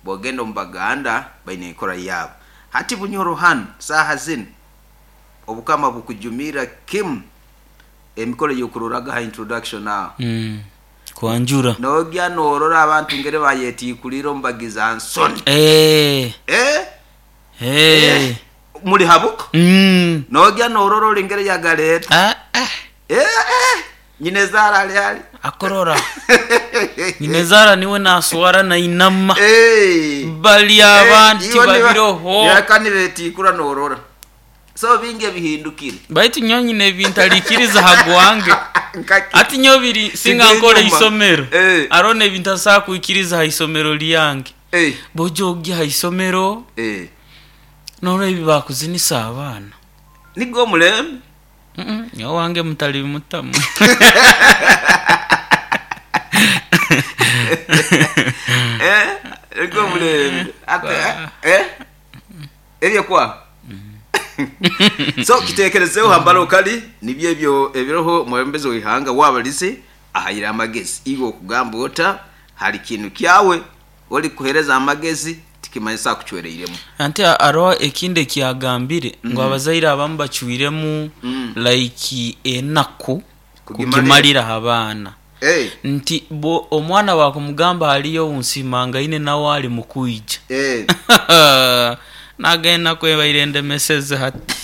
Bwogenda omu Baganda baine enkora yaabo. Hati Bunyoro hanu saaha zinu obukama bukujumirra kimu emikoro ey'okuroraga ha introduction aho. Kwanjura. Nogya norora abantu ngeri bayetiikulire omu bagiza nsoni. Eh. Eh. Eh. Muli ha buko. Nogya norora ori ngeri yagaleeta. Ah, ah. Eh, eh. Nyinezara ali hali. Akorora. Nyinezara niwe naswara nainama. Eh. Bali abandi Iwe tibabiroho. Nibaka nibetikura norora. So bingi ebihindukire. Baitu nyowe nyine ebintalikiriza ha gwange. Nkaki. Ati nyowe biri singa nkora Siga enyuma. isomero. Eh. Aroho n'ebintu ntasobora kwikiriza ha isomero lyange. Eh. Bw'oja ogya ha isomero, Eh. norora ebi bakuzinisa abaana. Nigwo omulembe. Nyowe owange mutalibimutamu. Eh, nigwo omulembe. Ate eh. Ebyo kwa. So kitekerezeho hambara okali nibyo ebyo ebiroho omwebembezi w'eihanga wabalize ahaire amagezi. Iwe okugamba ota hali kintu kyawe ori kuhereza amagezi tikimanyisa akucwereiremu. Anti haroho ekindi ekiyagambire ngu abazaire abamu bacwiremu like enaku kugimalira ha baana. Nti bwo omwana bwakumugamba haliyo ounsimangaine nawe ali mukwija. Naga enaku ebaire endemeseze hati.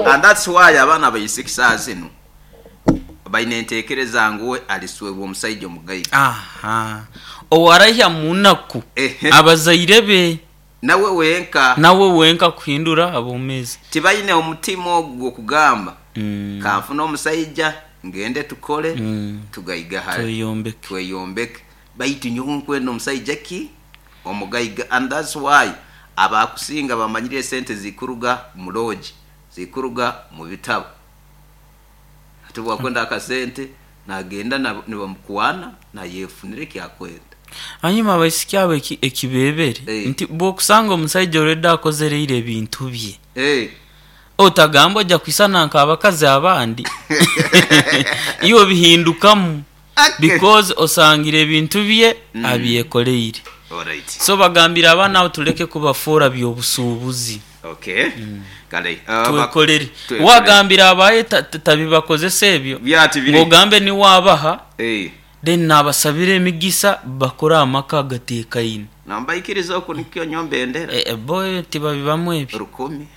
And that's why abaana abaisiki saaha zinu baine entekereza ngu we aliswerwa omusaija omugaiga. Aha. Owarahya mu naku abazaire be. Nawe wenka. Nawe wenka kuhindura abomezi. Tibaine omutima ogwo gw'okugamba kanfune omusaija ngende tukole tugaigahare. Tweyombeke. Tweyombeke. Baitu nyowe nkwenda omusaija ki? Omugaiga. And that's why abakusinga bamanyire esente zikuruga mu lodge, zikuruga mu bitabo. Hati obwakwenda akasente nagenda nibamukwana nayefunira ekyakwenda. Hanyuma abaisiki abo ekibebere nti bwokusanga omusaija already akozereire ebintu bye otagamba oja kwisana nk'abakazi abandi iwe obihindukamu because osangire ebintu bye abyekoreire. So bagambire abaana abo tuleke kubafoora by'obusuubuzi. Twekorere. Wagambira abaye tabibakozesa ebyo ngu ogambe niwe abaha then nabasabira emigisa bakore amaka agatekaine. Nambaikiriza oku nikyo nyowe mbendera. Bo tibabibamu ebyo. Rukumi,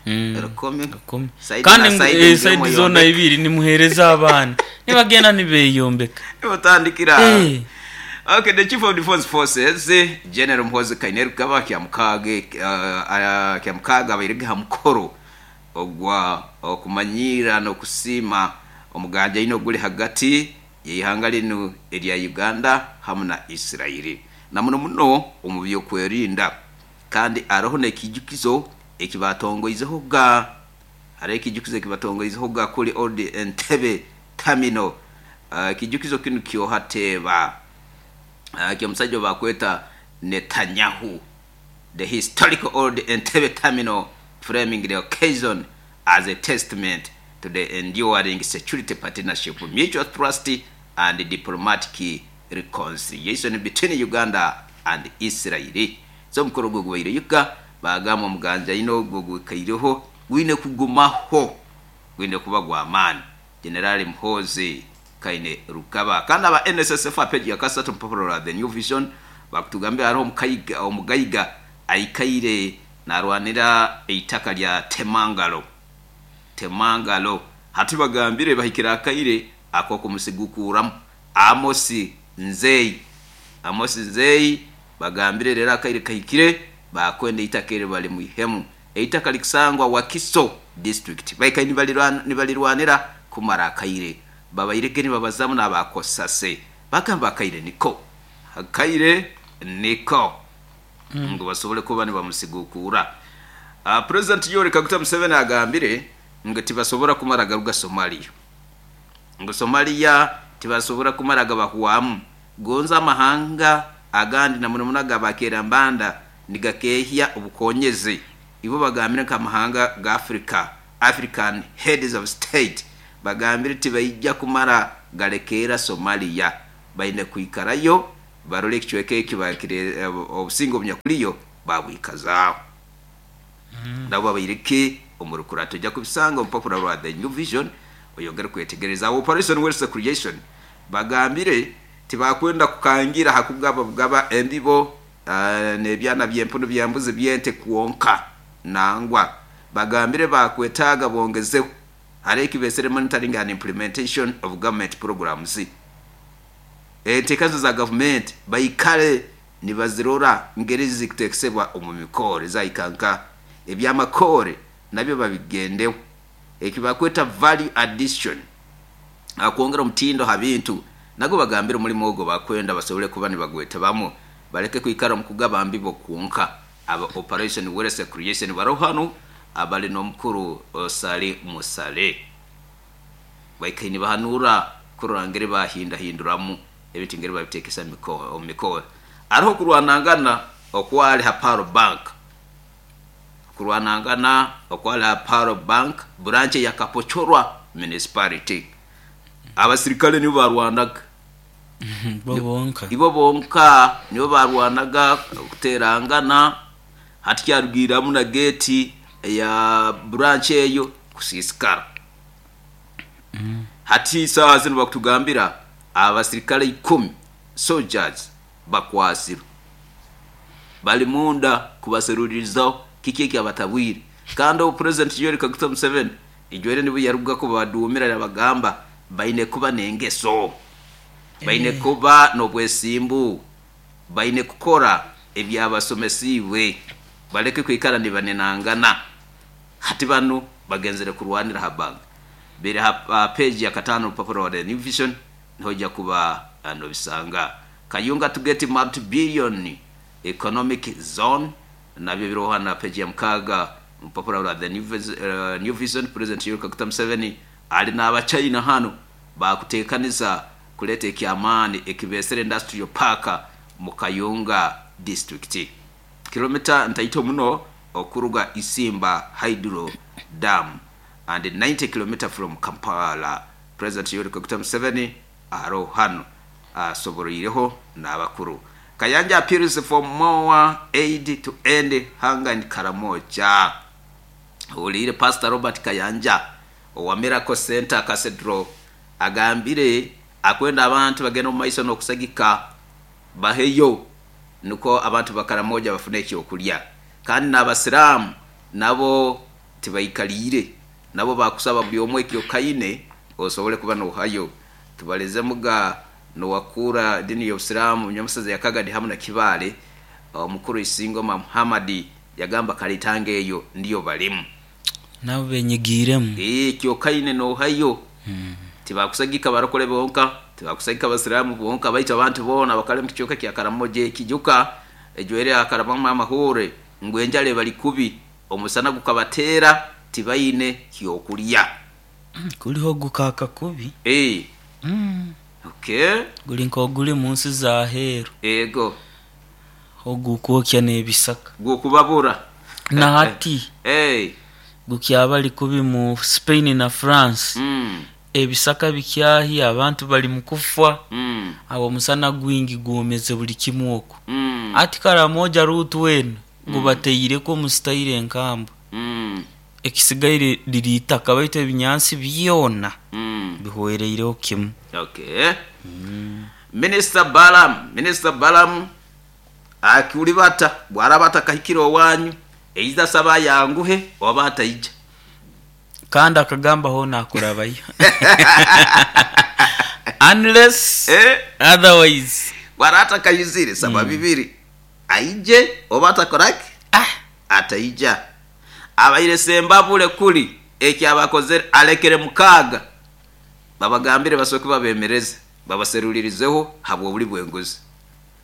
rukumi. Rukumi. Saidi Kandi na ngu saidi mugire saidi zoona mweyombeke. ibiri nimuhereza abaana nibagenda nibeyombeka. Nimutandikira aho. Okay, the Chief of Defense Forces, General Muhoozi Kainerugaba Kyamukaaga abairege ha mukoro ogwa okumanyiira n'okusiima omuganjaine oguli hagati y'eihanga linu erya Uganda hamu na Israel na muno muno omu by'okwerinda kandi haroho n'ekiijukizo eki baatongoizehoga haroho ekiijukizo eki batongoizehoga kuli Old Entebbe Terminal. Ekiijukizo kinu kyoha teeba ky'omusaija ou baakweta Netanyahu. The historical Old Entebbe Terminal framing the occasion as a testament to the enduring security partnership, mutual trust and diplomatic reconciliation between Uganda and Israel. So omukoro ogwo gubaire Yuga, baagamba omuganjaine ogwo ogwikaireho gwine kugumaho, gwine kuba gw'amaani. Jenerali Muhoozi Kainerugaba. Kandi aba NSSF aha peegi ya kasatu omu rupapura rwa The New Vision bakutugambira hariho omugaiga aikaire narwanira eitaka lya Temangalo. Temangalo. Hati bagambire bahikire akaire ak'okumusigukuuramu. Amos Nzeyi. Amos Nzeyi bagambire reero akaire kahikire baakwenda eitaka eryo barimwihemu. Eitaka rikusangwa Wakiso district. Baikaire nibarirwanira kumara akaire. Babairege nibabazamu n'aba Cosase. Bagamba akaire niko. Akaire niko. Ngu basobole kuba nibamusigukuura. Purezidenti Yoweri Kaguta Museveni agambire ngu tibasobora kumara garuga Somalia. Ngu Somalia tibasobora kumara gabahwamu. Gonza amahanga agandi na muno muno aga Mbanda nigakehya obukonyezi. Ibo bagambire nk'amahanga ga Africa, African Heads of State, bagambire tibaija kumara galekeera Somalia. Baine kwikarayo barole ekicweka eki obusinge obunyakuriyo Babwikazaaho nabo babaireke omu rukurato. Ojja kubisanga omu rupapura rwa The New Vision, oyongere kwetegereza. Operation Wealth Creation bagambire tibakwenda kukangira ha kugaba bugaba embibo n'ebyana by'empunu, by'embuzi, by'ente kwonka. Nangwa bagambire bakwetaaga bongezeho hariho ekibesere monitoring and implementation of government programs. Enteekazo za gavumenti baikale nibazirora ngeri zikuteekesebwa omu mikore zaikanka ebyamakore nabyo babigendeho, ekibakweta value addition, akwongera omutindo ha bintu. Nagwo bagambire omulimo ogwo bakwenda basobole kuba nibagwetabamu, baleke kwikara omu kugaba mbibo kwonka. Aba Operation Wealth Creation baroho hanu abali n'omukuru Sali Musale, baikaire nibahanura kurora ngeri bahindahinduramu ebintu, ngeri babitekesa omu mikoro. Hariho kurwanangana okwali ha Pearl Bank, kurwanangana okwali ha Pearl Bank branch ya Kapochorwa Municipality. Abasirikale nibo barwanaga. Bo bonka? Ibo bonka nibo barwanaga kuterangana. Hati kyarugiramu na gate ya branch eyo kusiisikara. Hati saaha zinu bakutugambira abasirikale 10 soldiers bakwasirwe, bali munda kubaserulirizaho kiki ekyabatabwire. Kandi obu President Yoweri Kaguta Museveni ijwere nibwo yaruga kubadumira, yabagamba baine kuba n'engeso, baine kuba n'obwesimbu, baine kukora ebyabasomesiibwe, baleke kwikara nibanenangana. Hati banu bagenzere kurwanira ha bank. Biri ha page ya 5 orupapura rwa The New Vision, niho ojja kuba nobisanga. Kayunga to get multi-billion economic zone nabyo biroho hano na page ya 6 mupapura rwa The New Vision. President Yoweri Kaguta Museveni ali n'Abachina hano bakutekaniza kuleta ekyamaani ekibesere industrial park mu Kayunga district, kilomita ntaito muno okuruga Isimba Hydro Dam and 90 km from Kampala. President Yoweri Kaguta Museveni aroho hano asoboroireho n'abakuru. Kayanja appeals for more aid to end hunger in Karamoja. Huliire Pastor Robert Kayanja owa Miracle Center Cathedral agambire akwenda abantu bagenda omu maiso n'okusagika baheyo nukwo abantu ba Karamoja bafune ekyokulya. Kandi n'Abasiraamu nabo tibaikaliire, nabo bakusaba buli omwe ekyokaine osobole kuba nohayo. Tubalezemuga nowakura edini y'Obusiraamu nyamusaza ya Kagadi hamu na Kibaale, omukuru Isingoma Muhammad, yagamba kalitanga eyo ndiyo balimu. Nabo benyigiiremu. Ekyokaine nohayo. Tibakusagika barokole bonka, tibakusagika Abasiraamu bonka, baitu abantu boona bakali omu kicweka kya Karamoja. Ekijuka ejwaire akarabamu amahuure ngu enjara ebali kubi, omusana gukabateera, tibaine kyokulya. Kuliho gukaaka kubi. Okay. Guli nk'oguli mu nsi za heeru. Ego. Ogukwokya n'ebisaka. Gukubabura. Na hati gukyabali kubi mu Spain na France. Ebisaka bikyahya, abantu bali mu kufa. Awo omusana gwingi gwomeze buli kimu okwo. Ati Karamoja ruutu eno gubateireku omu sitairo enkambwe. Ekisigaire liri itaka baitu ebinyansi byona bihwereireho kimu. Okay. Minister Balaam, Minister Balaam akulibata bwaraba atakahikire owanyu, eiza saba ayanguhe oba ataija. Kandi akagamba hoona akurabayo unless otherwise. Bwara atakayizire saba bibiri, aije oba atakoraki? Ataija. Abaire Sembabule kuli ekyabakozere alekere 6 babagambire basooke babemereze babaserulirizeho habw'obuli bw'enguzi.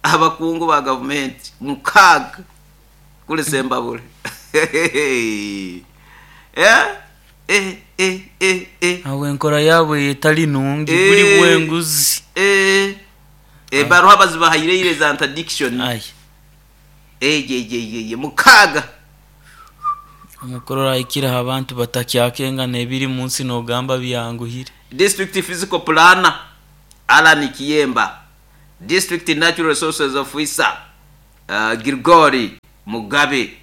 Abakungu ba gavumenti 6 kuli Sembabule. Awo enkora yaabwe etali nungi, buli bw'enguzi. Ebaruha bazibahaireire za interdiction. Eyeyeyeye 6. Omukuru ahikire abantu batakyakengana ebiri mu nsi n'ogamba byanguhire. District Physical Planner Allan Kiyemba, District Natural Resources Officer Girigori. Mugabe,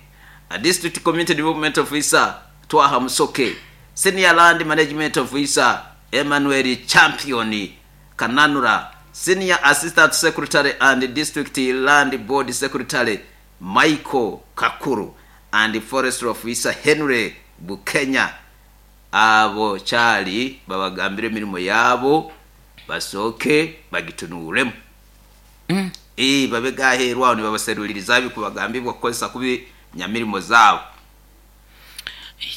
District Community Development Officer Twaha Musoke, Senior Land Management Officer Emmanuel Champion Kananura, Senior Assistant Secretary and District Land Board Secretary Michael Kakuru, and Forestry Officer Henry Bukenya. Abo kyali babagambire emirimo yabo basooke bagitunuuremu. Babe gaheerwaho nibabaseruliriza bikubagambibwa kukozesa kubi nyamirimo zaabo.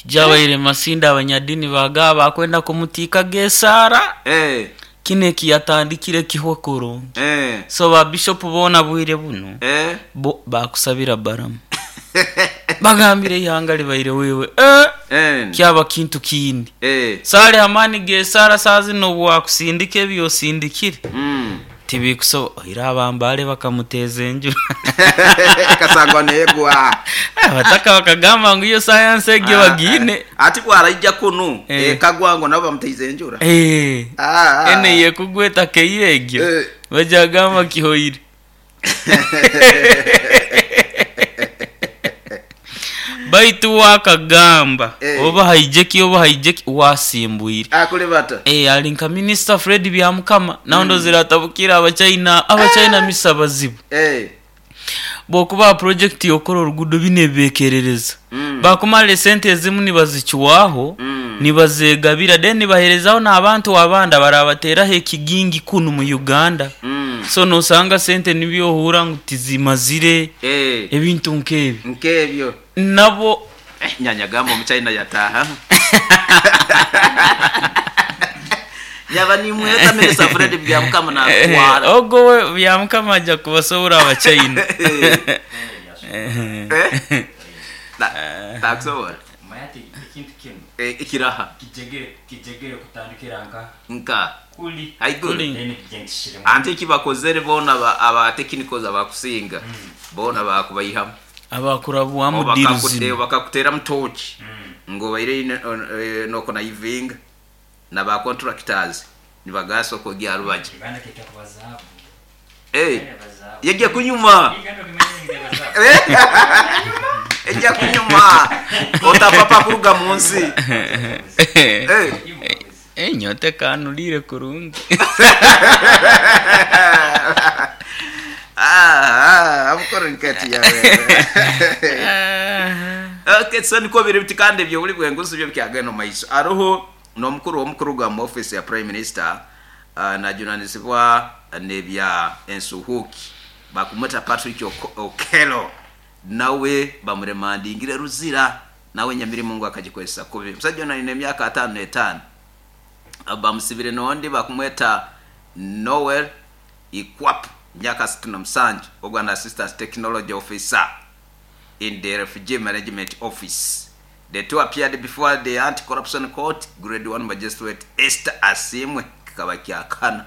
Jabaire masinda abanyadini baga bakwenda kumutiika gesaara. Kino ekiyatandikire kihwe kurungi. So ba bishop boona bwire buno bo bakusabira baramu bagambire ihanga libaire wewe kyaba kintu kindi. Sale amani gesaara saa zino bwakusindika ebyosindikire tibikusobola oira abambale bakamuteza enju kasangwa negwa abataka bakagamba ngu iyo sayansi egyo bagine ati bwaraija kunu ekagwa ngo nabo bamuteize enjura ene yekugweta keyegyo bajagamba kihoire. Baitu wakagamba oba haijeki oba haijeki wasimbwire akule bata ali nka Minister Fred Byamukama naondo ziratabukira abachina misa bazibu bokuba project yokora orugudo bine bekerereza bakumale sente ezimu nibazichwaho nibazegabira then nibaherezaho n'abantu abanda barabateraho ekigingi kunu mu Uganda. So nosanga sente nibyohura ngu tizimazire ebintu nkebi nkebyo nabo nyanyagamba omuchina yataha yaba nimweta Minister Fred Byamukama na kwara ogo Byamukama aja kubasobora abachina takusobora mayati ekintu kinu ekiraha kijegere kutandikira nka kuli haiguru ante kibakozere bona aba technicals abakusinga bona bakubayihamu abakurabwamu diruzi bakakutera mutoki ngo baire noko na ivinga na ba contractors nibagaso kogya rubaje yajya kunyuma ejya kunyuma otapapa kuruga munsi nyote kanulire kurungi amukoro nkati yawe. Okay, so niko biri biti kandi ebyo buli bwenguzi byo byagenda maiso aroho n'omukuru w'omukuru gwa mu office ya Prime Minister najunanizibwa nebya ensuhuki bakumweta Patrick Okello nawe bamuremandingire ruzira nawe nyamirimo ngo akagikozesa kubi. Musajja ono alina emyaka 55 bamusibire nondi bakumweta Noel Ikwap myaka 67 ogwana assistant technology officer in the refugee management office. The two appeared before the anti-corruption court grade 1 magistrate Esther Asimwe kikaba kyakana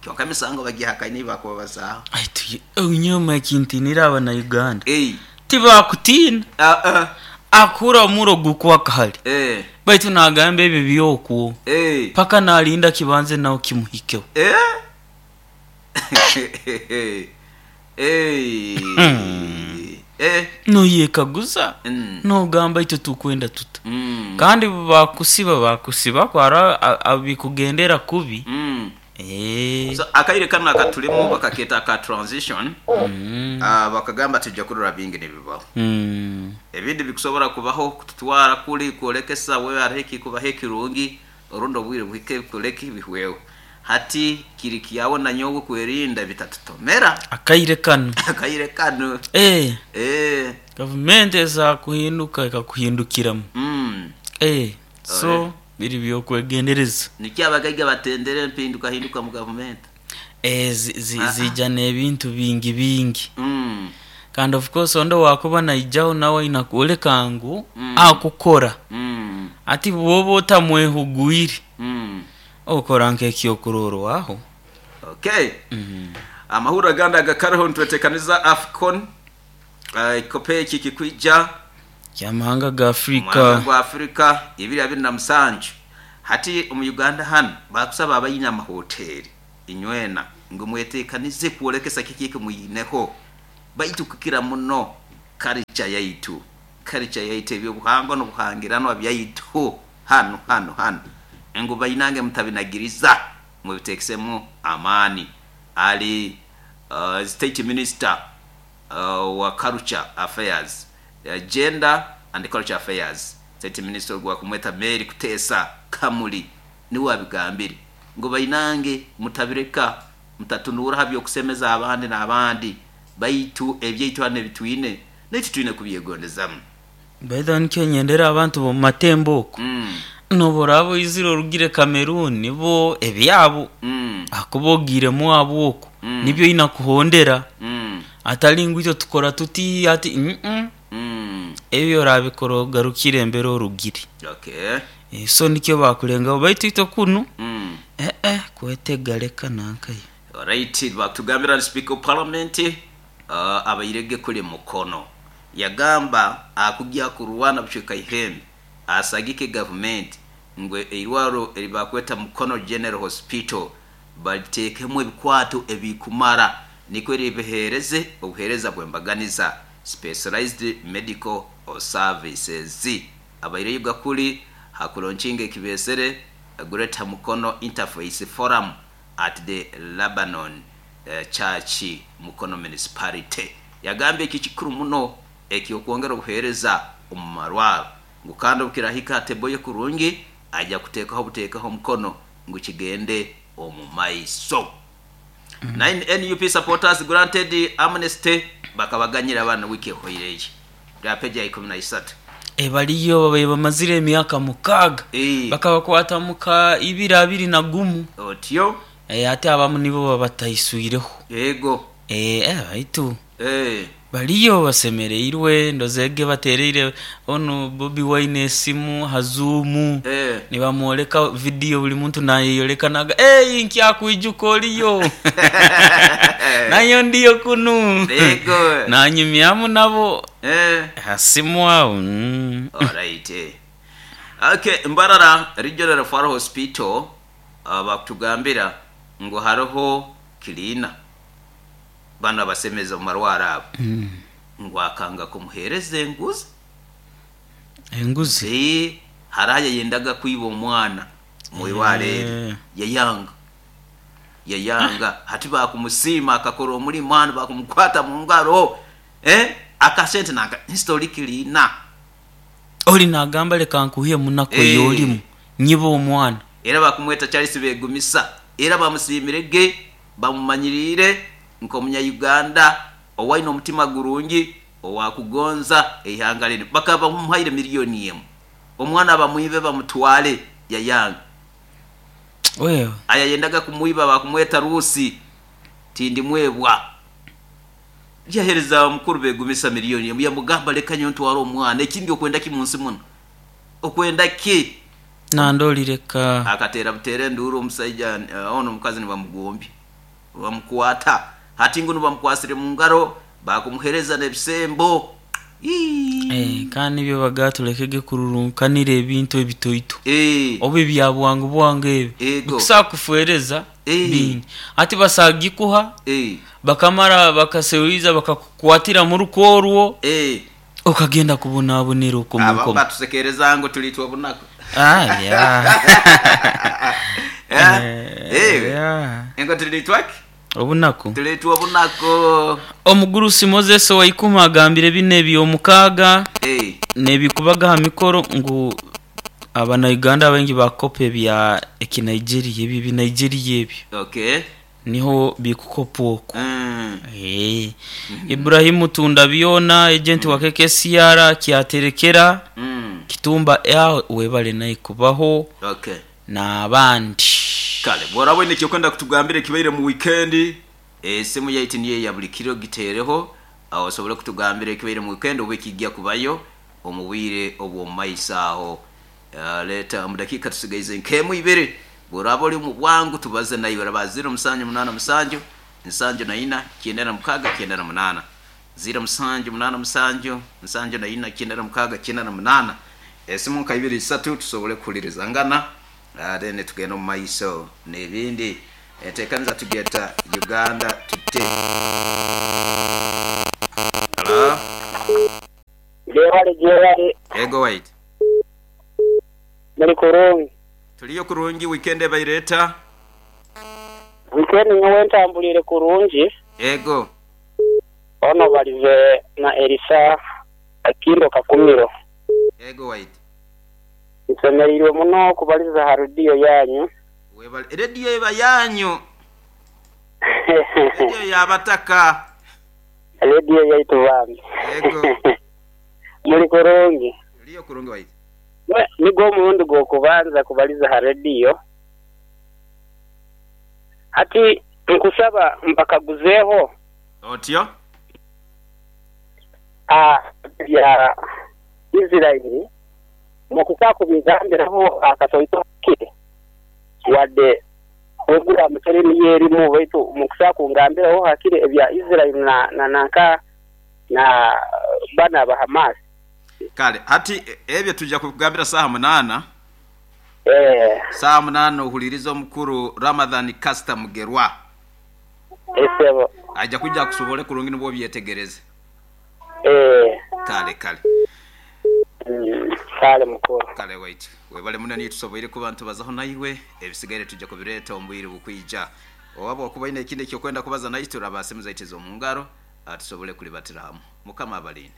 kyonka emisango bagihakanye bakubabazaho. Aitu unyoma kintinira abana Uganda tibakutina akura muro gukwa kahali baitu nagamba ebyo byokwo paka nalinda kibanze nawo kimuhikeho. Noyekaguza nogamba ito tukwenda tuta kandi bakusiba kwara abikugendera kubi. So akaire kano akatulimo bakaketa ka transition bakagamba tujja kurora bingi nebibaho ebindi bikusobora kubaho kututwara kuli kuolekesa wewe areki kubaho ekirungi orundo bwire buhike kuleki bihwewe hati kiri kiyawo na nyowe kwerinda bitatutomera akaire kano akaire kano government eza kuhinduka ikakuhindukiramu so biri byokwegendereza nikyabagaiga batendere mpinduka hinduka mu government zijja n'ebintu bingi bingi kandi of course ondo wakuba naijaho nawe inakuoleka ngu akukora ati bwoba otamwehugwire okora nk'ekyokurorwaho. Okay. Amahura ganda gakariho ntwetekaniza AFCON ikope iki kikwija kyamahanga ga Afrika gwa Afrika 2027 hati omu Uganda hano bakusaba abayina amahoteli inywena ngo mwetekanize kuolekesa kikike muyineho baitu kukira muno Culture yaitu, culture yaitu, ebyobuhangwa n'obuhangiranwa byaitu hanu hanu hanu, ngu bainange mutabinagiriza, mubitekesemu amaani. Ali state minister wa culture affairs, gender and culture affairs, state minister ogwa kumweta Mary Kutesa Kamuli, niwe abigambire ngu bainange mutabireka, mutatunura ha byokusemeza abandi n'abandi, baitu ebyaitu hano ebitwine naitu twine kubyegondezamu. Baitha nikyo nyendera abantu b'omu matembo oku. Noba oraba oizire orugire Cameroon, bo ebyabo akuba ogiiremu abo oku nibyo oina kuhondera, atali ngu itwe tukora tuti ati. Ebyo orabikora ogarukire embere orugire. So nikyo bakulengaho, baitu itwe kunu kwetega leka nankaye. Alright, bakutugambira Speaker of Parliament abairege kuli Mukono yagamba akujja kurwana bucweka ihembe asagike gavumenti ngu eirwaro eribakweta Mukono General Hospital balitekemu ebikwato ebikumara nikwo ribihereze obuhereza bwembaganiza, specialized medical services. Abaireyo gakuli hakulaunchinga ekibesere Greater Mukono Interfaith Forum at the Lebanon Church Mukono Municipality. Yagambye eki kikuru muno ekyokwongera obuhereza omu marwaro, ngu kandi obukirahika ateboye kurungi ajja kuteekaho buteekaho omukono ngu kigende omu maiso. 9 NUP supporters granted amnesty, bakabaganyira abana wiki ehoireyo lya peji ya 13. Baliyo babaye bamazire emyaka 6. Bakabakwata muka 2021. Otyo. Ate abamu nibo babataiswireho. Yego. Baitu baliyo basemereirwe, ndozege batereire ono Bobi Wine esimu ha Zoom. Nibamwoleka video, buli muntu nayeyoleka naga, "Hey, nkyakwijuka oliyo." Nayo ndiyo kunu. Yego. Nanyumyamu nabo. Hasimu awo. Alright. Okay, Mbarara Regional Referral Hospital bakutugambira ngu hariho cleaner bano abasemeza omu marwaro abo, ngu akanga kumuhereza enguzi. Enguzi? Hariho yayendaga kwiba omwana mwirwaro eri, yayanga, yayanga. Hati bakumusiima akakora omulimu hano, bakumukwata mu ngaro, akasente naka history cleaner. Oli nagamba leka nkuhe munaku eyolimu nyiba omwana. Era bakumweta Charles Begumisa, era bamusiimirege, bamumanyirire nk'omunya-Uganda owaine omutima gurungi owakugonza eihanga linu. Bakaba bamuhaire 1 million omwana bamwibe bamutwale, yayanga. Wewe. Aya yendaga kumwiba bakumweta Rusi tindimwebwa, yahereza mukuru Begumisa 1 million, yamugamba leka nyo ntware omwana, ekindi okwenda ki munsi muno, okwenda ki? Nandolireka. Akatera butere enduru omusaija, ono omukazi nibamugombya bamukwata. Hati ngu nibamukwasire mu ngaro, bakumuhereza n'ebisembo. Kandi nibyo baga tulekege kururunkanira ebintu ebitoito oba ebya bwangu bwangu ebi. Bikusobola kufuereza bingi, ati basagikuha bakamara bakasewiza bakakukwatira mu ruko orwo, okagenda kubonabonera okwo Aba munkomo. Batusekereza ngu tulitwa obunaku. Ah, yeah. Engo tulitwaki? Obunaku. Tulitwa obunaku. Omugurusi Moses Waikuma agambire bino ebyomukaaga nebikubaga ha mikoro ngu abanauganda abaingi bakopa ebya ekinigeria, ebyo ebinigeria ebyo. Niho bikukopwa okwo. Ibrahimu Tunda byona agent wa KKCR kyaterekera Kitumba aho webale naye kubaho n'abandi. Kale bworaba oine ekyokwenda kutugambira ekibaire mu weekend, esimu yaitu niyo ya buli kiro, giteereho aho osobole kutugambira ekibaire mu weekend oba ekijja kubayo omu bwire obw'omu maiso aho. Leeta omu dakiika tusigaize nk'emu ibiri, bworaba oli omu bwangu tubaze naiwe, raba 0787 74 96 98, 0787 74 96 98. Esimu nka ibiri isatu tusobole kuhulirizangana, then tugenda omu maiso n'ebindi. Enteekaniza tugeta Uganda Today. Hello? Gyebale gyebale. Ego waitu. Muli kurungi? Tuliyo kurungi, weekend ebaire eta? Weekend nyowe entambuliire kurungi. Ego. Ono balize na Erisa Akindo Kakumiro. Ego waitu. Nsemereirwe muno okubaliza ha rediyo yanyu. Webale. Rediyo eba yanyu. Rediyo ya bataka. Rediyo yaitu bambi. Ego. Muli kurungi? Tuliyo kurungi waitu. Nigwo omurundi gw'okubanza kubaliza ha rediyo. Hati nkusaba mpakaguzeeho. Otyo? Bya Isiraeli mukusa kubigambiraho akatoito kake, wadde puroguramu teri niyo erimu, baitu mukusa kungambiraho hakire ebya Isiraeli na nanka na bano aba Hamas. Kale hati ebyo tuja kubigambira saaha munaana. Eh. Saaha munaana ohulirize omukuru Ramadhan Kasita Mugerwa. Esebo. Aija kwija akusobole kurungi nibwo obyetegereze. Eh. Kale kale. Kale mukuru. Kale waitu. Webale muno niyo tusoboire kuba nitubazaho naiwe, ebisigaire tuja kubireeta omu bwire obukwija. Owaba okuba oine ekindi ekyokwenda kubaza naitwe raba aha simu zaitu ez'omu ngaro tusobole kulibatira hamu. Mukama abalinde.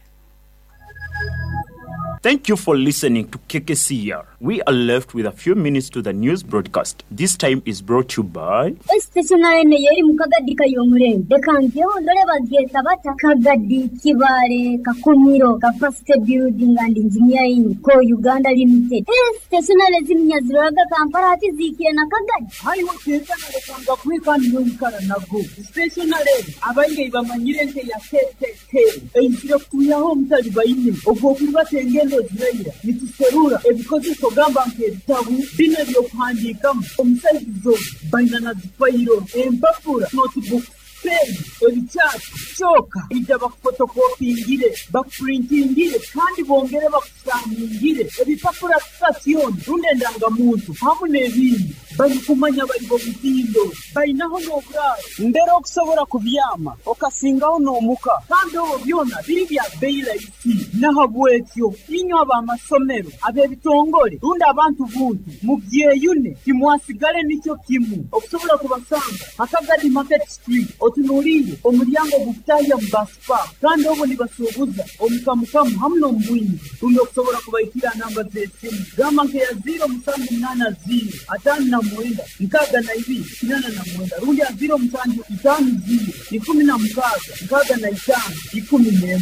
Thank you for listening to KKCR. We are left with a few minutes to the news broadcast. This time is brought to you by. Stationery eno y'eri mu Kagadi Kayomurembe. Leka ngyeho ndole bagyeta bata Kagadi Kibaale Kakumiro Capacity Building and Engineering Co Uganda Limited. Stationery zinu nyaziroraga Kampala hati ziikire na Kagadi. Haiwe kenkana lekanga kuhe kandi noikara nago. Stationery abaingi bamanyire nke ya KKK eizire kutwihaho omutalibaine ogw'okuribata engendo ziraira nituserura ebikozeso gamba nk'ebitabu binu eby'okuhandiikamu omu saizi zoona baina na zifayiro empapura notebooks pen ebikyati kyoka ija bakufotokopingire bakupurintingire kandi bongere bakusaningire ebipapura sitasioni rundi endangamuntu hamu n'ebindi barikumanya bari b'omutindo bainaho n'oburaaro mbere okusobora kubyama okasingaho n'omuka kandi obwo byona biri bya bei rahisi n'ahabwekyo inywe ab'amasomero ab'ebitongore rundi abantu buntu mubyeyune timwasigale nikyo kimu okusobora kubasanga Akagadi Market Street otunuliire omulyango gukutahya mu bus park kandi obwo nibasuubuza omukamukamu hamu n'omubwingi rundi okusobora kubaikira namba z'esimu gamba nkeya 0780 59 62 89 rundi ya 0750 16 65 11.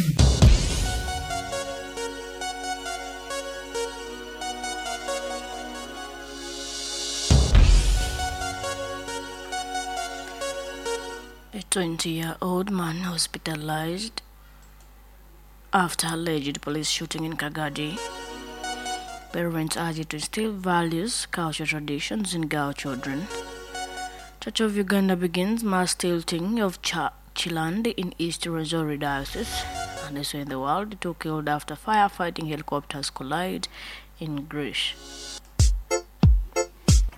A 20-year-old man hospitalized after alleged police shooting in Kagadi. Parents urged to instill values, culture, traditions in girl children. Church of Uganda begins mass tilting of Chilandi in East Rwenzori Diocese. And also in the world, 2 killed after firefighting helicopters collide in Greece.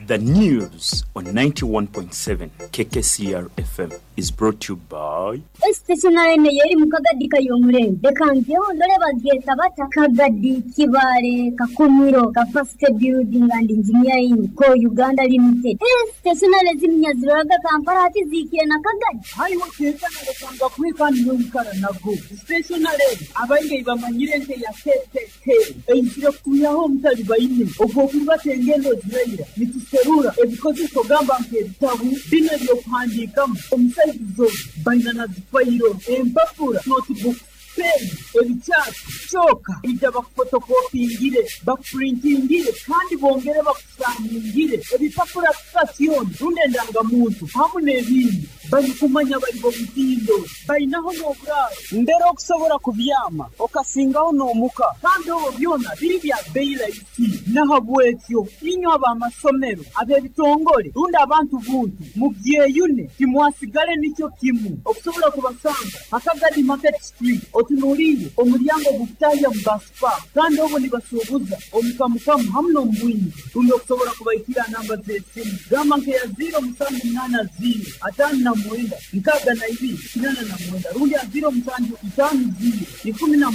The news on 91.7 KKCR FM is brought to you by Stationery eno y'eri mu Kagadi Kayomurembe. Leka ngyeho ndole bagyeta bata Kagadi Kibaale Kakumiro Capacity Building and Engineering Co Uganda Limited. Stationery zinu nyaziroraga Kampala hati ziikire na Kagadi. Haiwe kenkana lekanga kuhe kandi noikara nago. Stationery abaingi bamanyire nke ya KKK eizire kutwihaho omutalibaine ogw'okuribata engendo ziraira nituserura ebikozeso gamba nk'ebitabu binu eby'okuhandiikamu omu saizi zoona baina na zifayiro empapura notebooks pen ebikyati kyoka ija bakufotokopingire bakupurintingire kandi bongere bakusaningire ebipapura sitasioni rundi endangamuntu hamu n'ebindi barikumanya bari b'omutindo bainaho n'oburaaro mbere okusobora kubyama okasingaho n'omuka kandi obwo byona biri bya bei rahisi n'ahabwekyo inywe ab'amasomero ab'ebitongore rundi abantu buntu mubyeyune timwasigale nikyo kimu okusobora kubasanga Akagadi Market Street otunuliire omulyango gukutahya mu bus park kandi obwo nibasuubuza omukamukamu hamu n'omubwingi rundi okusobora kubaikira namba z'esimu gamba nkeya 0780 59 9, 62 89 rundi ha 0750 16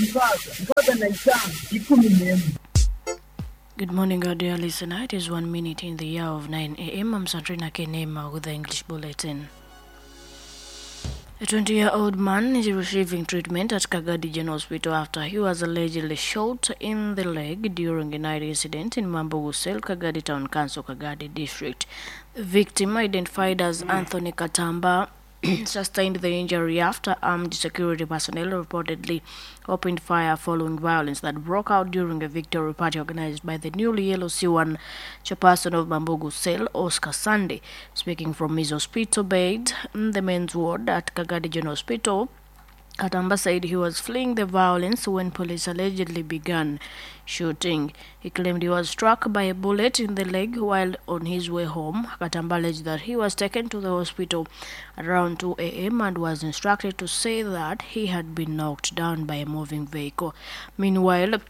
65 11. Good morning, our dear listener. It is 1 minute in the hour of 9 a.m. I'm Sandrina Kenema with the English Bulletin. A 20-year-old man is receiving treatment at Kagadi General Hospital after he was allegedly shot in the leg during a night incident in Mambugu Cell, Kagadi Town Council, Kagadi District. The victim, identified as Anthony Katamba, sustained the injury after armed security personnel reportedly opened fire following violence that broke out during a victory party organized by the newly LOC1 chairperson of Bambugu Cell, Oscar Sunday. Speaking from his hospital bed in the men's ward at Kagadi General Hospital, Katamba said he was fleeing the violence when police allegedly began shooting. He claimed he was struck by a bullet in the leg while on his way home. Katamba alleged that he was taken to the hospital around 2 a.m. and was instructed to say that he had been knocked down by a moving vehicle. Meanwhile,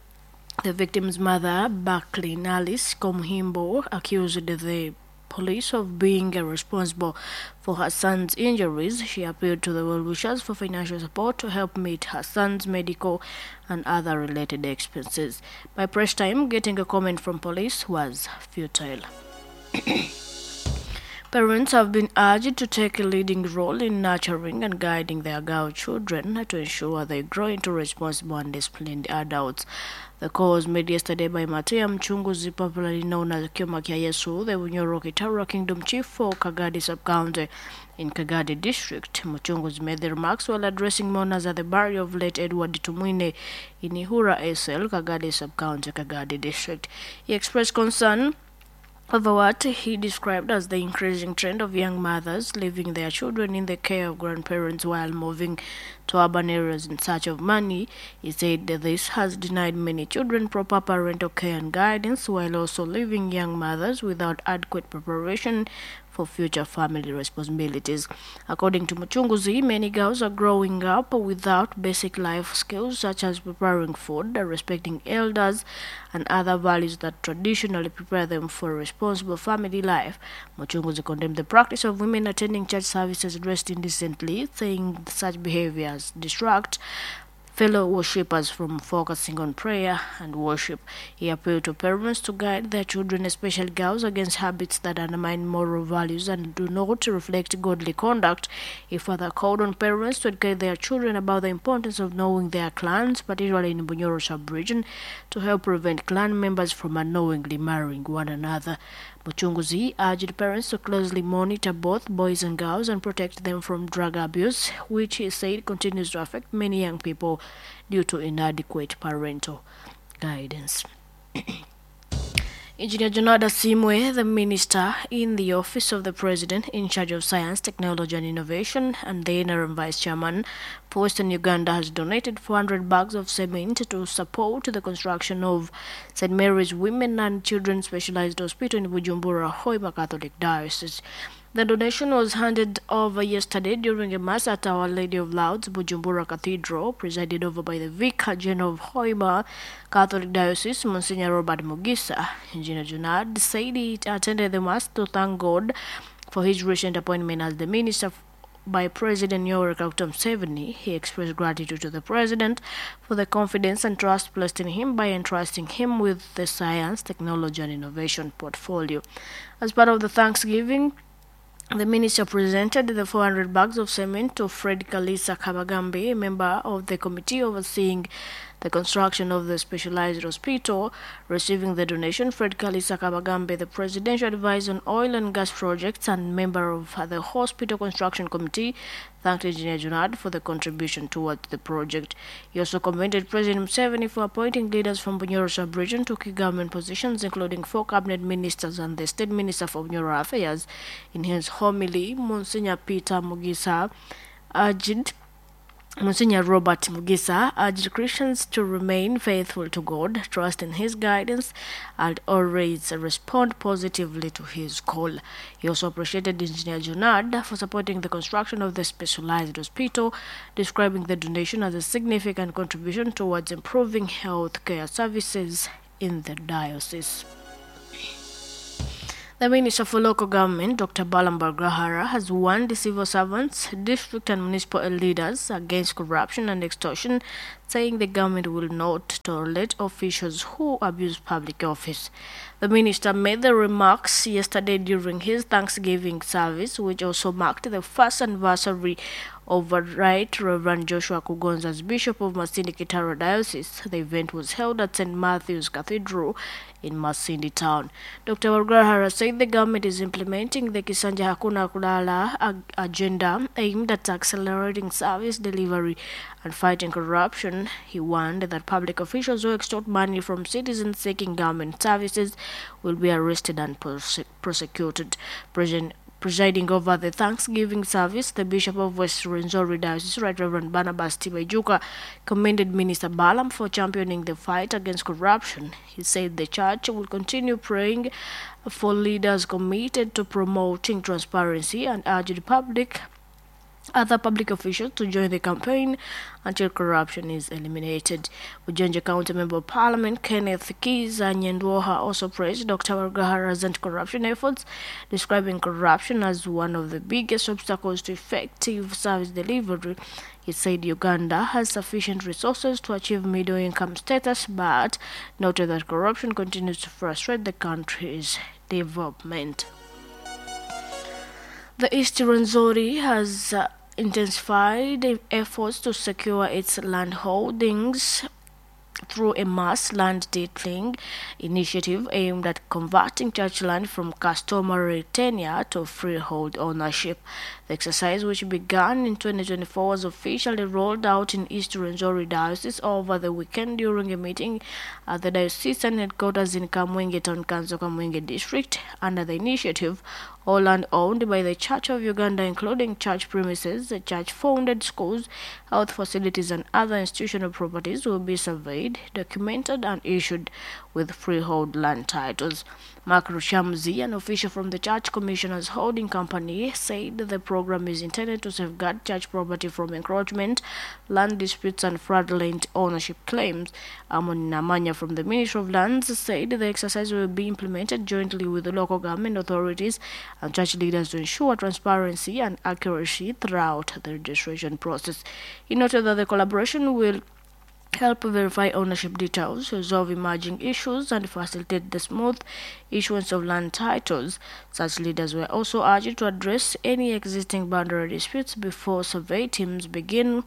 the victim's mother, Buckley Alice Komhimbo, accused the police of being responsible for her son's injuries. She appealed to the well-wishers for financial support to help meet her son's medical and other related expenses. By press time, getting a comment from police was futile. Parents have been urged to take a leading role in nurturing and guiding their girl children to ensure they grow into responsible and disciplined adults. The call was made yesterday by Matia Mchunguzi, popularly known as Kyomakia Yesu, the Bunyoro Kitara Kingdom Chief for Kagadi Sub-County in Kagadi District. Mchunguzi made the remarks while addressing mourners at the burial of late Edward Tumwine in Ihura SL, Kagadi Sub-County, Kagadi District. He expressed concern over what he described as the increasing trend of young mothers leaving their children in the care of grandparents while moving to urban areas in search of money. He said that this has denied many children proper parental care and guidance while also leaving young mothers without adequate preparation for future family responsibilities. According to Muchunguzi, many girls are growing up without basic life skills such as preparing food, respecting elders, and other values that traditionally prepare them for a responsible family life. Muchunguzi condemned the practice of women attending church services dressed indecently, saying such behaviors distract fellow worshippers from focusing on prayer and worship. He appealed to parents to guide their children, especially girls, against habits that undermine moral values and do not reflect godly conduct. He further called on parents to educate their children about the importance of knowing their clans, particularly in Bunyoro sub-region, to help prevent clan members from unknowingly marrying one another. Muchunguzi urged parents to closely monitor both boys and girls and protect them from drug abuse, which he said continues to affect many young people due to inadequate parental guidance. Engineer Jonada Simwe, the minister in the office of the president in charge of science, technology and innovation, and the NRM vice chairman for Western Uganda, has donated 400 bags of cement to support the construction of St. Mary's Women and Children's Specialized Hospital in Bujumbura, Hoima Catholic Diocese. The donation was handed over yesterday during a mass at Our Lady of Lourdes, Bujumbura Cathedral, presided over by the Vicar General of Hoima Catholic Diocese, Monsignor Robert Mugisa. Engineer Junad said he attended the mass to thank God for his recent appointment as the minister by President Yoweri Kaguta Museveni. He expressed gratitude to the president for the confidence and trust placed in him by entrusting him with the science, technology and innovation portfolio. As part of the Thanksgiving, the minister presented the 400 bags of cement to Fred Kalisa Kabagambe, a member of the committee overseeing the construction of the specialized hospital. Receiving the donation, Fred Kalisa Kabagambe, the presidential advisor on oil and gas projects and member of the hospital construction committee, thanked Engineer Junad for the contribution towards the project. He also commended President Museveni for appointing leaders from Bunyoro sub-region to key government positions, including 4 cabinet ministers and the state minister for Bunyoro Affairs. In his homily, Monsignor Peter Mugisa urged Monsignor Robert Mugisa urged Christians to remain faithful to God, trust in His guidance, and always respond positively to His call. He also appreciated Engineer Junad for supporting the construction of the specialized hospital, describing the donation as a significant contribution towards improving health care services in the diocese. The Minister for Local Government, Dr. Balaam Barugahara, has warned the civil servants, district and municipal leaders against corruption and extortion, saying the government will not tolerate officials who abuse public office. The minister made the remarks yesterday during his Thanksgiving service, which also marked the first anniversary of Right Reverend Joshua Kugonza as Bishop of Masindi Kitara Diocese. The event was held at St. Matthew's Cathedral in Masindi town. Dr. Barugahara said the government is implementing the Kisanja Hakuna Kulala agenda aimed at accelerating service delivery and fighting corruption. He warned that public officials who extort money from citizens seeking government services will be arrested and prosecuted. Presiding over the Thanksgiving service, the Bishop of West Rwenzori Diocese, Right Reverend Barnabas Tibaijuka, commended Minister Balaam for championing the fight against corruption. He said the church will continue praying for leaders committed to promoting transparency and urged other public officials to join the campaign until corruption is eliminated. Bujenje County Member of Parliament Kenneth Kiza Nyendwoha also praised Dr. Barugahara's anti-corruption efforts, describing corruption as one of the biggest obstacles to effective service delivery. He said Uganda has sufficient resources to achieve middle-income status, but noted that corruption continues to frustrate the country's development. The East Rwenzori has intensified efforts to secure its land holdings through a mass land titling initiative aimed at converting church land from customary tenure to freehold ownership. The exercise, which began in 2024, was officially rolled out in East Rwenzori Diocese over the weekend during a meeting at the diocesan headquarters in Kamwenge Town Council, Kamwenge District. Under the initiative, all land owned by the Church of Uganda, including church premises, the church-founded schools, health facilities, and other institutional properties, will be surveyed, documented, and issued with freehold land titles. Mark Rushamzi, an official from the Church Commissioners Holding Company, said the program is intended to safeguard church property from encroachment, land disputes, and fraudulent ownership claims. Amon Namanya from the Ministry of Lands said the exercise will be implemented jointly with the local government authorities and church leaders to ensure transparency and accuracy throughout the registration process. He noted that the collaboration will help verify ownership details, resolve emerging issues, and facilitate the smooth issuance of land titles. Such leaders were also urged to address any existing boundary disputes before survey teams begin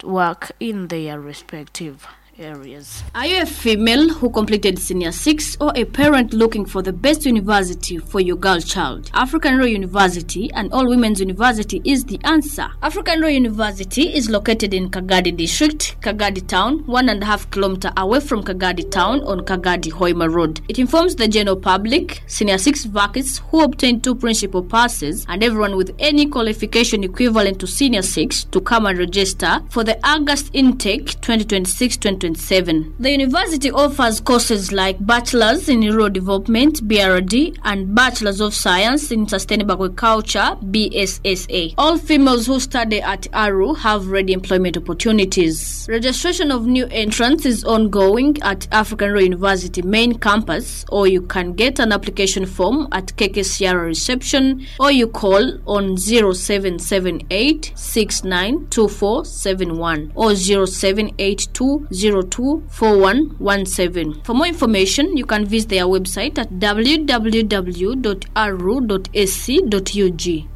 work in their respective areas. Are you a female who completed Senior 6 or a parent looking for the best university for your girl child? African Royal University and All Women's University is the answer. African Royal University is located in Kagadi District, Kagadi Town, 1.5 kilometers away from Kagadi Town on Kagadi Hoima Road. It informs the general public, Senior 6 vacancies who obtained 2 principal passes, and everyone with any qualification equivalent to Senior 6 to come and register for the August intake 2026-2027. The university offers courses like Bachelor's in Rural Development, BRD, and Bachelor's of Science in Sustainable Agriculture, BSSA. All females who study at ARU have ready employment opportunities. Registration of new entrants is ongoing at African Royal University main campus, or you can get an application form at KKCR reception, or you call on 0778 692471 or 0782 024117. For more information, you can visit their website at www.aru.ac.ug.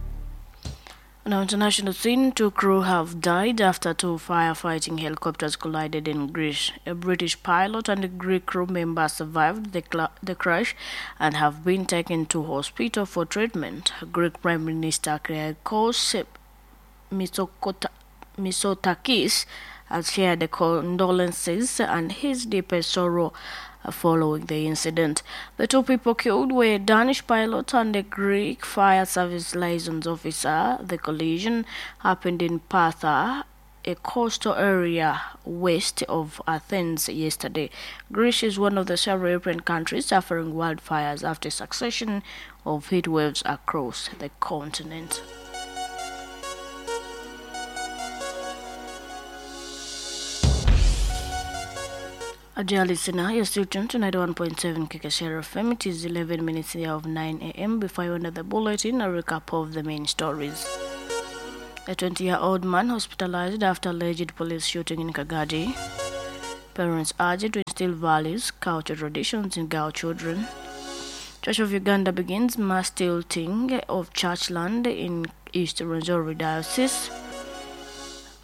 Now, international scene, 2 crew have died after 2 firefighting helicopters collided in Greece. A British pilot and a Greek crew member survived the crash and have been taken to hospital for treatment. Greek Prime Minister Kyriakos Mitsotakis has shared the condolences and his deepest sorrow following the incident. The 2 people killed were a Danish pilot and a Greek fire service liaison officer. The collision happened in Patha, a coastal area west of Athens, yesterday. Greece is one of the several European countries suffering wildfires after succession of heat waves across the continent. Dear listener, you're still tuned to 91.7 KKCR FM. It is 11 minutes of 9 a.m. Before you enter the bulletin, a recap of the main stories. A 20-year-old man hospitalized after alleged police shooting in Kagadi. Parents urged to instill values, culture, traditions in girl children. Church of Uganda begins mass tilting of church land in East Rwenzori Diocese.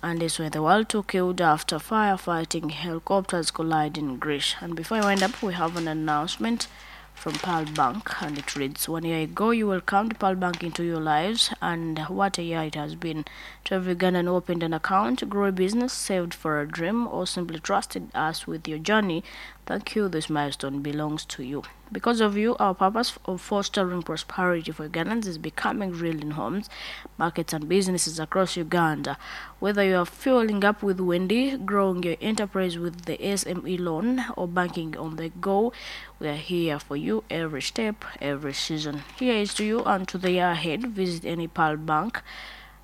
And this were the world two killed after firefighting helicopters collide in Greece. And before I wind up, we have an announcement from Pearl Bank, and it reads, 1 year ago you welcomed Pearl Bank into your lives, and what a year it has been. To every Ugandan who opened an account, grew a business, saved for a dream, or simply trusted us with your journey, thank you. This milestone belongs to you. Because of you, our purpose of fostering prosperity for Ugandans is becoming real in homes, markets, and businesses across Uganda. Whether you are fueling up with Wendy, growing your enterprise with the SME loan, or banking on the go, we are here for you every step, every season. Here is to you and to the year ahead. Visit any Pearl Bank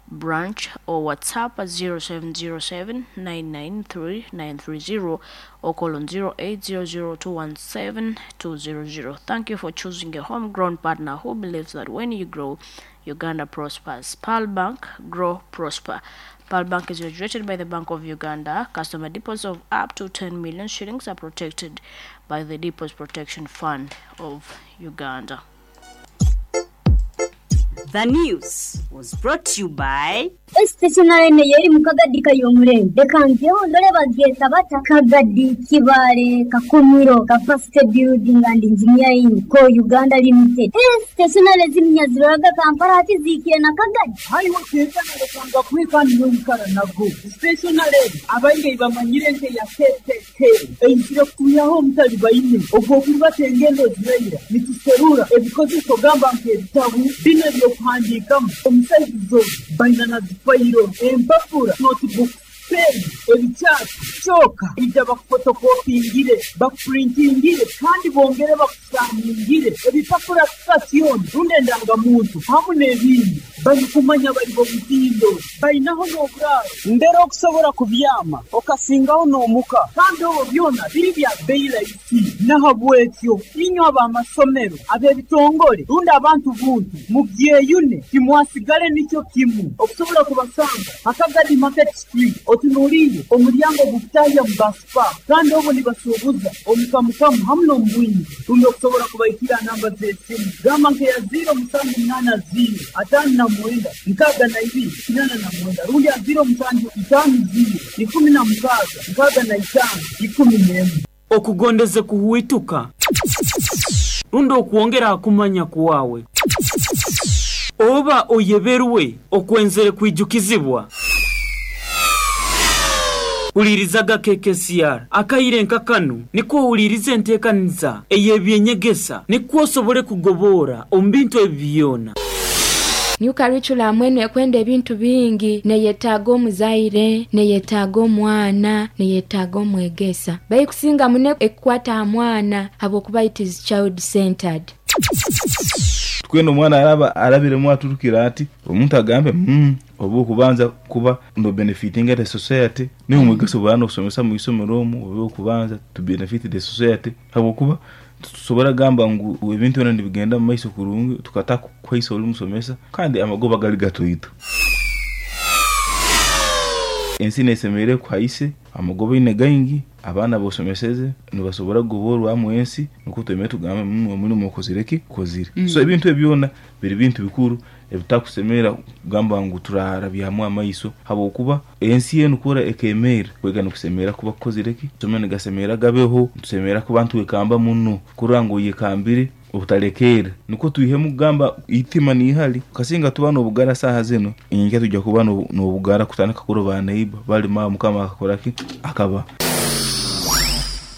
branch or WhatsApp at 0707 993 930 or call on 0800 217 200. Thank you for choosing a homegrown partner who believes that when you grow, Uganda prospers. Pearl Bank, grow, prosper. Pearl Bank is regulated by the Bank of Uganda. Customer deposits of up to 10 million shillings are protected by the Deposit Protection Fund of Uganda. The news was brought to you by Stationary yeri mukagadi kayomurembe reka ngeho ndore bageta bata Kagadi Kibale Kakumiro Capacity Building and Engineering ko Uganda Limited. Stationary zimnyaziraga Kampala ati zikire na Kagadi hariho tekana rukanga kwikani n'omukara nago stationary abaingi bamanyire nke ya KKK eizire kuyaho omutali baine ogwokuba engendo ziraira nituserura ebikozeso gamba nk'ebitabu bino ebyokuhandiikamu omusaizizo baina na zifayiro empapura notebook pen ebikyasi kyoka ija bakufotokopingire bakupurintingire kandi bongere bakusaningire ebipapura sitasioni rundi endangamuntu hamu n'ebindi barikumanya bari bomutindo bainaho n'oburaaro mbere okusobola kubyama okasingaho n'omuka kandi obwo byona biri bya beyi rahisi nahabwekyo inywe ab'amasomero ab'ebitongole rundi abantu buntu mubyeyune timwasigale nikyo kimu okusobola kubasanga Akagadi Market Street otunuliire omulyango gukutahya mu baspa kandi obwo nibasuubuza omukamukamu hamu n'omubwingi rundi okusobola kubaikira namba z'esimu gamba nkeya 0780 59 62 89 rundi ya 0750 16 65 11. Okugondeze kuhuituka rundi okuwongera akumanya kuwawe oba oyeberwe okwenzere kwijukizibwa. Ulirizaga KKCR akaire nkakanu niko ulirize enteekaniza ey'ebyenyegesa niko osobole kugobora omu bintu ebyona. New curriculum eno ekwenda ebintu bingi neyetaaga omuzaire, neyetaaga omwana, neyetaaga omwegesa. Bayikusinga mune ekwata mwana habwokuba it is child centered. Tweno omwana araba arabiremu aturukira ati omuntu agambe obu kubanza kuba no benefiting the society ni omwegeso bwana okusomesa mu isomero omu obu kubanza to benefit the society habwokuba tusobora gamba ngu ebintu byona nibigenda mu maiso kurungi tukataka kwaisa oli musomesa kandi amagoba gali gatoito. Ensi nesemere kwaise amagoba ine gaingi abaana bosomeseze nibasobora kugoborwa mu ensi nuko tweme tugambe omulimu okozireki kozire. So ebintu ebyona biri bintu bikuru ebitakusemera kugamba ngu turarabyamu amaiso habwokuba ensi yenu kora ekemera kwega nokusemera kuba kukozireki somene gasemera gabeho tusemera ku bantu wekamba muno kurango yekambire obutalekera nuko tuihemu kugamba itima ni hali kasinga tuba n'obugara saha zino inge tujja kuba n'obugara kutandika kuroba neighbor bali ma mukama akakoraki akaba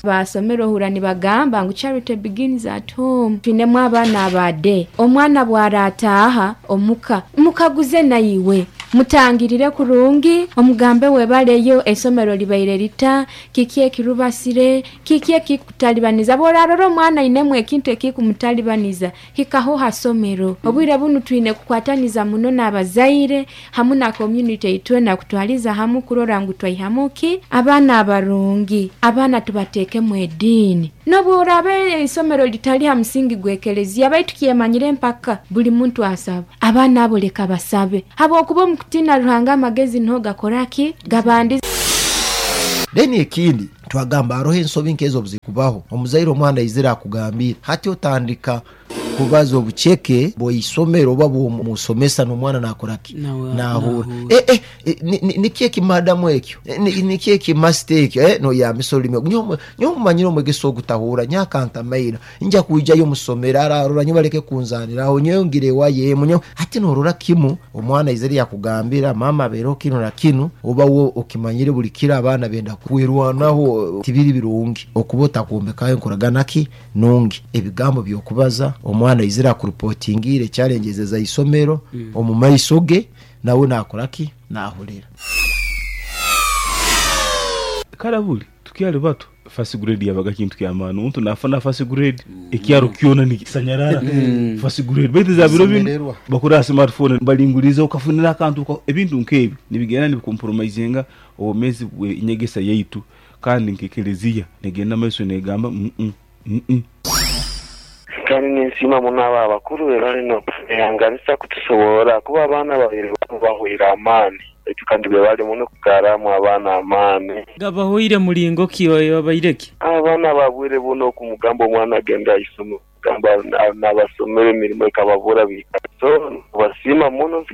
Basomero hura nibagamba ngu charity begins at home. Twinemu abaana abade omwana bwarataha omuka mukaguze nayiwe Mutangirire kurungi, omugambe webaleyo esomero libaire lita, kiki ekirubasire, kiki ekikutalibaniza. Bworarora omwana ainemu ekintu ekikumutalibaniza, hikaho ha somero. Obwire bunu twine kukwataniza muno n'abazaire hamu na community itwena kutwaliza hamu kurora ngu twaihamu ki abaana abarungi, abaana tubateekemu ediini. N'obworaba isomero litali ha musingi gw'ekereziya, baitu kyemanyire mpaka buli muntu asaba. Abaana abo leka basabe, habwokuba omu kutiina Ruhanga amagezi niho gakora ki? Gabandiza. Then ekindi twagamba haroho ensobi nkezo obuzikubaho, omuzaire omwana aizire akugambire, hati otandika kubaza obuceke bw'isomero oba bw'omusomesa n'omwana nakora ki? Nahurra. Niki eki madamu ekyo? Niki eki masita ekyo? Noyambisa orulimi ogu. Nyowe mumanyire omwegesa ogu tahurra, nyowe akantamaira, nja kwijayo musomero ararora, nyowe baleke kunzaniraho, nyowe ngira ewayo emu, nyowe. Hati norora kimu omwana aizire yakugambira mama abeereho kinu na kinu, oba we okimanyire buli kiro abaana benda kwerwanaho, tibiri birungi okuba otakwombekaho enkoragana ki nungi. Ebigambo by'okubaza omwana aizire akurupotingiire challenges eza isomero omu maiso ge, nawe nakora ki? Nahurira. Kare buri tukyali bato first grade yabaga kintu kyamaani, omuntu nafuna first grade ekyaro kyona nikisanyarara first grade, baitu za biro binu Kusemererwa. bakora ha smartphone balinguliza okafunira akantu ebintu nk'ebyo nibigenda nibikompromisinga obwomezi bw'enyegesa yaitu kandi nk'ekelezia negenda maiso negamba Kandi ninsiima muno abo abakuru be bali n'okubehanganisa kutusoborra kuba abaana babaire bahweire amaani baitu kandi bebale muno kugarramu abaana amaani. Gabahweire mulingo ki obaire ki? Abaana ba bwire bunu okumugamba omwana agende aisome gamba nabasomera emirimo ekababura biikara so nibasiima muno.